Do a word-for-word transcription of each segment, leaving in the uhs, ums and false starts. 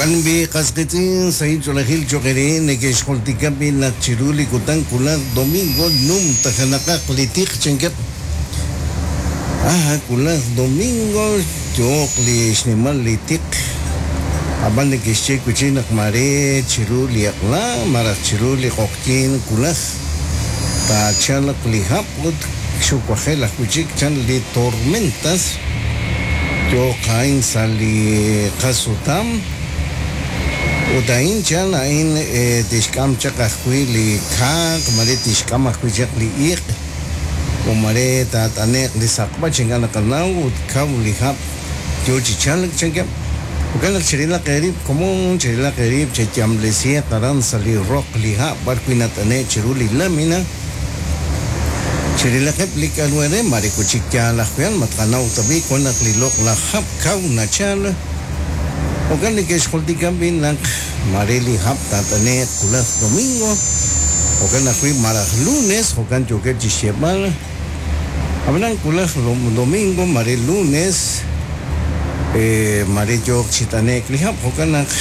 Jo'kan b'i qas qiitz'in sahil ch'oolejil cho'q eere neke'xjultika b'i naq chiru li kutan wulaj domingo numtajanaqaq li tiq chankeb'. Aha, wulaj domingo yooq li xnimal li tiq. Ab'an neke'xye wi' chik naq mare chiru li aq'la malaj chiru li q'oqyink wulaj taachalq li hab' ut xuwajel ajwi' chik chan li tormentas yooq a'in sa' li qasutam. Ut a'in chan a'in tixk'am chaq ajwi' li kaaq, mare tixk'am ajwi' chaq li iq' o mare taat'ane'q li saqb'ach ink'a' naqanaw ut kaw li hab' yoo chi chalk chankeb'. Jo'kan naq chirilaq eerib' komon, chirilaq eerib' cheyamlesihaq aran sa' li roq li ha' b'ar wi' nat'ane' chiru li lamina. Chirilaqeb' li k'aru eere mare wi' chik yaal ajwi' a'an ma tqanaw ta b'i' wan naq li loq'laj hab' kaw nachal. Jo'kan neke'xjultika b'i' naq mare li hab' taat'ane'q wulaj domingo, jo'kan ajwi' malaj lunes, jo'kan yookeb' chixyeeb'al. Ab'anan wulaj domingo mare lunes, mare yooq chi t'ane'k li hab', jo'kan naq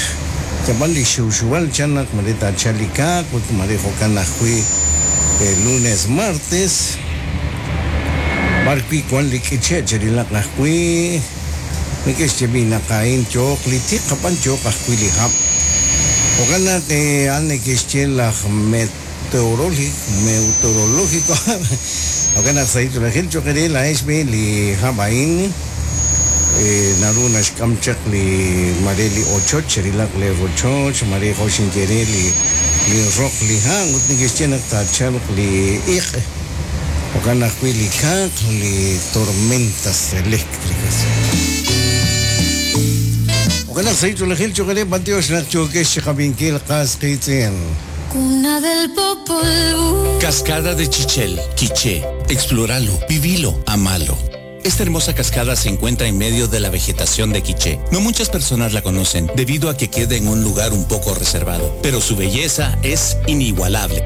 yab'an li xiwxiwal chan naq mare taachal li kaaq ut mare jo'kan ajwi' lunes martes, b'ar wi' wan li k'iche' chirilaq ajwi'. Neke'xye b'i' naq a'in yooq li tiq ab'an yooq ajwi' li hab'. Jo'kan naq a'an neke'xye laj meteorológico, meteorológico. Jo'kan naq sahil ch'oolejil cho'q eere laa'ex b'i' li hab' a'in naru naxk'am chaq li mare li ochoch, chirilaq li rochoch, mare jo' xinye re li li roq li ha' ut neke'xye naq taachalq li iq'. Jo'kan ajwi' li kaaq, li tormentas eléctricas. Jo'kan naq sahil ch'oolejil cho'q eere b'antiox naq yookex chiqab'inkil qas qiitz'in. Cuna del Popol Vuh. Cascada de Chichel, Quiché. Explóralo, vivilo, amalo. Esta hermosa cascada se encuentra en medio de la vegetación de Quiché. No muchas personas la conocen debido a que queda en un lugar un poco reservado, pero su belleza es inigualable.